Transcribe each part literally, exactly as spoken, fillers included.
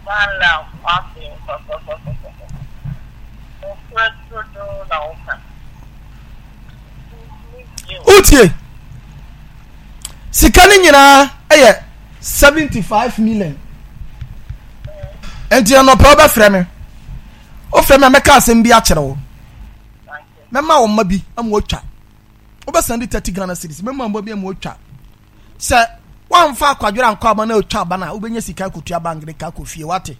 Malam, wafei pɔpɔpɔpɔpɔ. Nokorɛ turodoo na woka. Wotie, sika no nyinaa yɛ seventy five million. Nti ɛnɔpɛ wobɛfrɛ me, wofrɛ me a, mɛka asɛm bi akyerɛ wo. Mɛma wo mma bi ama watwa, wobɛsan de thirty Ghana cedis. Mɛma mma bi ama watwa. Sɛ woamfa akwadwerɛ ankɔ aba na otwa aba no a, wobɛnya sika akɔtua bank de ka akɔ fie. Wate?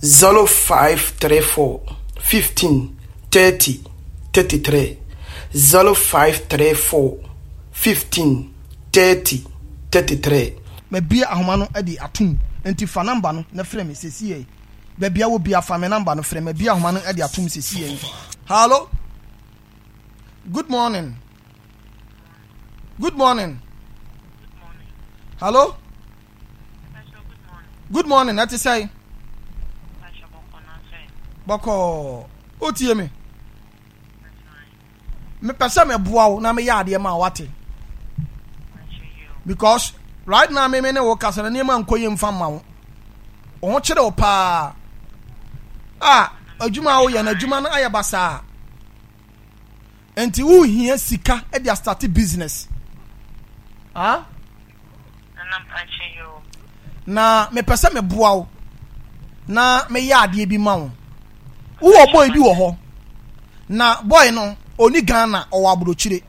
zero five three four fifteen thirty thirty three, zero five three four fifteen thirty thirty three. Mabue ahoma no de atom, nti fa number no na frɛ me sesiei. Baabi a wɔ bia, fa me number no frɛ. Mabue ahoma no de atom sesiei. Hallo, good morning, good morning. Hallo, good morning. Ɛte sɛn? Bɔkɔɔ. Wotie me, mepɛ sɛ meboa wo na meyɛ adeɛ ma wate, because right now me me ne wo kasa no, nneɛma nkɔ yie mfa mma wo. Wo ho kyerɛ wo paa a, adwuma a woyɛ no, adwuma no ayɛ basaa, nti wohia sika de astart business, ah? Na mepɛ sɛ meboa wo na meyɛ adeɛ bi ma wo. Wowɔ boy bi wɔ hɔ, na boy no ɔni Ghana, ɔwɔ aburokyire,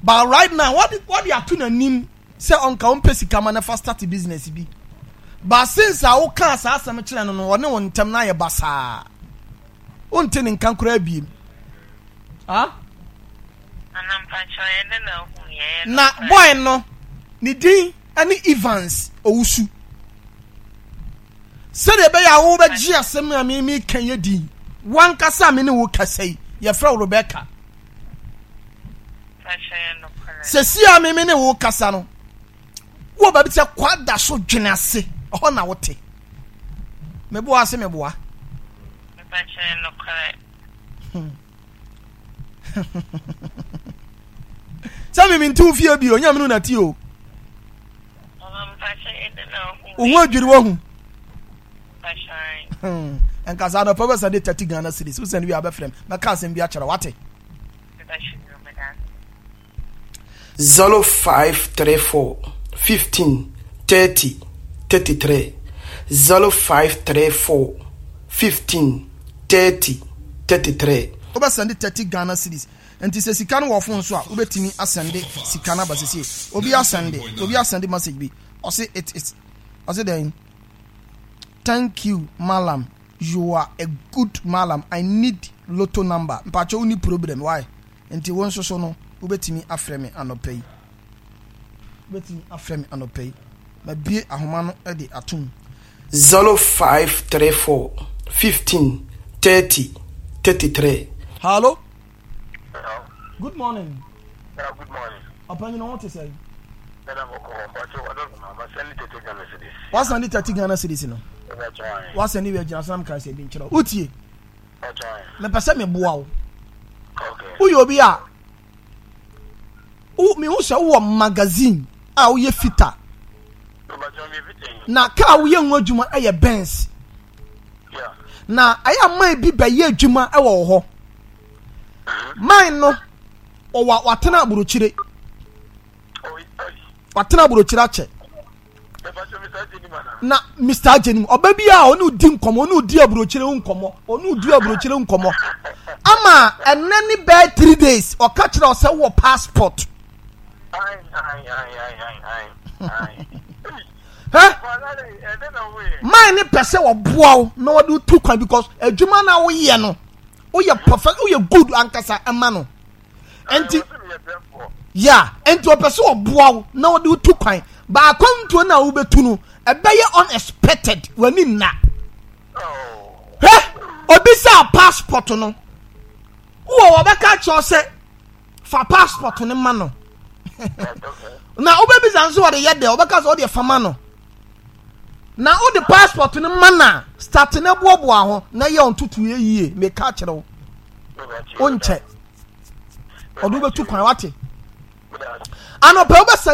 but right now wɔde wɔde ato n'anim sɛ ɔnka ɔmpɛ sika ma ne fa start business bi, but since a wokaa saa asɛm kyerɛ no no ɔne wo ntɛm na ayɛ basaa, wonte ne nka koraa biem, ah? Na boy no ne din ne Evans Owusu. Sɛdeɛ ɛbɛyɛ a wobɛgye asɛm a meme ka yɛ din, wankasa a me ne wo kasa yi, yɛfrɛ wo Rebecca. Sɛsi a meme ne wo kasa no, wɔ baabi sɛ Kwada so dwene ase ɛhɔ na wote. Meboa ase, meboa. hmm. sɛ meme nte wo fie bio, ɔnyame no nate o. Wo ho adwiri, wahu. Nkasa anɔpa bɛsa de thirty Ghana cedis. Wosɛne wie a, bɛfrɛ m, mɛka asɛm bi akyerɛ wate. zero five three four fifteen thirty thirty three, zero five three four fifteen thirty thirty three. Wobɛsɛnde thirty Ghana cedis, nti sɛ sika no wɔ phone so a, wobɛtumi asɛnde sika no aba sesie. Obi asɛnde, obi asɛnde message bi, ɔse it is, ɔse dɛn? "Thank you, malam, you are a good malam. I need lotto number." Mpakyɛ, wo ni problem why? Nti wo nso so no, wobɛtumi afrɛ me anɔpa yi, wobɛtumi afrɛ me anɔpa yi. Mabie ahoma no de atom. zero five three four fifteen thirty thirty three. Hallo, good morning. Yeah, good morning. Ɔpanyin, ho te sɛ? Dada bɔkɔ, mpacho wadɔ ma ma send thirty Ghana cedis. Wasɛnde thirty Ghana cedis no? Mpacho ayi. Wasɛnde wi, agyina so na meka sɛ bi nkyerɛ wo. Wotie? Mpacho ayi. Mepɛ sɛ meboa wo. Okay. Woyɛ obi a wo mehu sɛ wowɔ magazine a woyɛ fitter. Mpacho mi fitter. Na kaa woyɛ ho adwuma yɛ Benz. Yeah. Na ɛyɛ a man bi bɛyɛ adwuma wɔ wo hɔ. Man no ɔwɔ, watena aburokyire. Oh, oh. Watena aburokyire akyɛ. Mpacho Mister Jenny mana. Na Mister Agyenim, ɔba bi a ɔne odi nkɔmmɔ, ɔne odi aburokyire ho nkɔmmɔ, ɔne odi aburokyire ho nkɔmmɔ ama ɛnɛ ne bɛɛ three days, ɔka kyerɛ wo sɛ wowɔ passport. Ai ai ai ai ai ai. Ai. Hɛ. Wala e de na we. Man ne pɛ sɛ wɔboa wo na wɔde wo tu kwan, because adwuma no a woyɛ no, woyɛ perfect, woyɛ good ankasa ɛma no. Nti ya, nti ɔpɛ sɛ ɔboa wo na wɔde wo tu kwan. Baako ntuo no a wobɛtu no, ɛbɛyɛ unexpected, w'ani nna. Oh. Hwɛ, obi sɛ passport no wowɔ, wɔbɛka kyerɛ wo sɛ fa passport no ma no, na wobɛbisa nso wɔde yɛ dɛ, wɔbɛka sɛ wode fa ma no. Na wode passport no ma no a, start ne boaboa ho na yɛ ɔntotoyɛ yie. Meka kyerɛ wo, wonkyɛ ɔde wobɛtu kwan. Wate? Anɔpɛ wobɛsɛn.